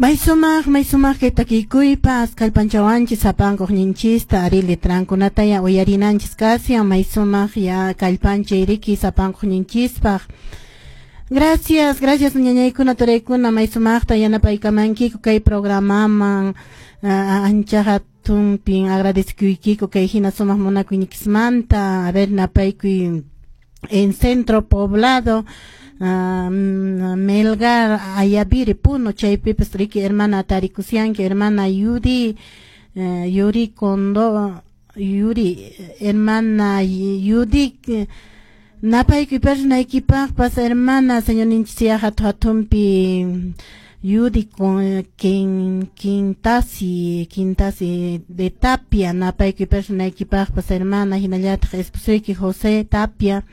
May sumaq kay takikuypas kallpanchawanchis sapankuq ninchista ari letrankunata ya uyarinanchis kasyan may sumaq ya kallpanchay riki sapankuq ninchispaq. Gracias, gracias ñañaykuna turaykuna may sumaqta yanapaykamankiku kay programaman ancha hatunpin agradecikuykiku kay hina sumaq munakuynikismanta. A ver, napaykuy en Centro Poblado, Melgar, Ayaviri, Puno, chaypipas riki hermana tarikusianki, hermana Yuri, Yuri Kondo, Yuri, hermana Yudi, napaykuy personaykipaqpas hermana señorninchis hatu hatunpi Yudi con Quintasi, Quintasi de Tapia, napaykuy personaykipaqpas hermana hinallataq esposuyki José Tapia,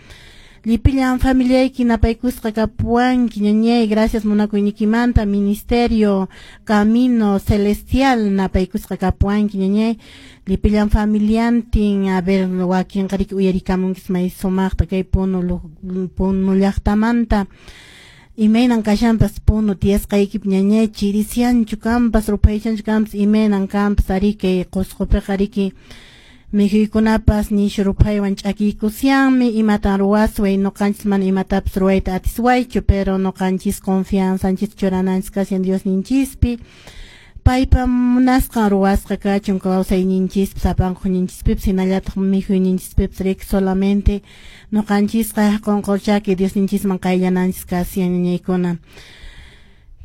Lipillan familiayki napaykusqa kapuwanki ñañay, gracias munakuynikimanta, Ministerio Camino Celestial napaykusqa kapuwanki ñañay, lipillan familiantin, a ver wakinqa riki uyarikamunkis may sumaqta kay Puno Puno llaqtamanta. Imaynan kashanpas Puno tiyasqaykipi ñañay, chirisianchu kanpas ruphaychanchu kanpas imaynan kanpas ari kay Qusqupiqa riki mikhuykunapas nishu ruphaywan ch'akiykusianmi, imatan ruwasway ñuqanchis mana imatapas ruwayta atiswaychu, pero ñuqanchis confianzanchis churananchis kashan Diosninchispi, paypa munasqan ruwasqa kachun kawsayninchispi sapankuqninchispipas hinallataq mikhuyninchispipas riki solamente ñuqanchisqa qunqurchaki Diosninchisman qayllananchis kashan ñañaykuna.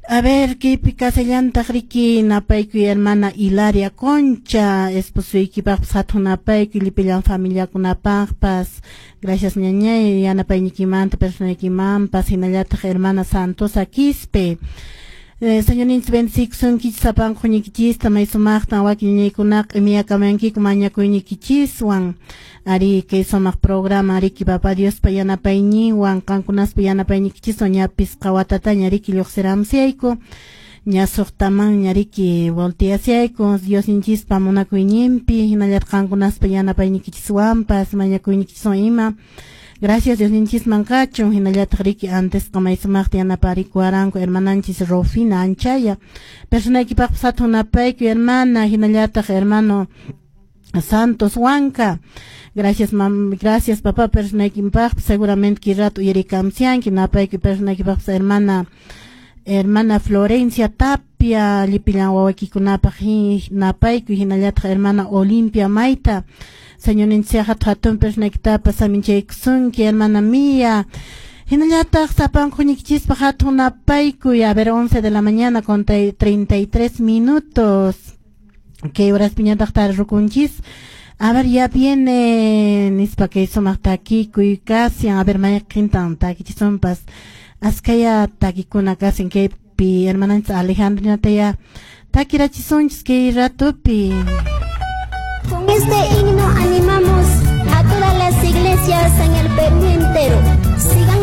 A ver, kaypi kasallantaq riki napaykuy hermana Hilaria Concha, esposuykipaqpas hatun napaykuy lipillan familiakunapaqpas. Gracias ñañay yanapaynikimanta personaykimanpas hinallataq hermana Santosa Quispe. Señorninchis bendecikusunkichis sapankuqnikichista may sumaqtan wakin ñañaykunaqa q'imiyakamankiku mañakuynikichiswan. Ari kay sumaq programa riki Papa Diospa yanapayninwan qankunaspa yanapaynikichiswan ña pisqa watataña riki lluqsiramusayku, ña suqtamanña riki volteasayku Diosninchispa munakuyninpi hinallataq qankunaspa yanapaynikichiswanpas mañakuynikichiswan ima. Gracias Diosninchisman kachun hinallataq riki antesqa may sumaqta yanaparikuwaranku hermananchis Rufina Anchaya. Personaykipaqpas hatun napaykuy hermana hinallataq hermano Santos Huanca. Gracias mam, gracias papá personaykipaqpas seguramente kay rato uyarikamsianki napaykuy personaykipaqpas hermana hermana Florencia Tapia lipillan wawaykikunapaq napaykuy hinallataq hermana Olimpia Maita. Señorninchis hatu hatun personaykitapas saminchaykusunki hermana Mía. Hinallataq sapankuqnikichispaq hatun napaykuy. A ver, 11 de la mañana con 33 minutos. ¿Qué horas piñataq tarirukunchis? A ver, ya viene nispa kay sumaq takikuy kasyan. A ver, mayqintan takichisunpas. Askaya takikuna kasyan kaypi hermananchis Alejandrinataya takirachisunchis kay ratupi. Con este himno animamos a todas las iglesias en el Perú entero. Sigan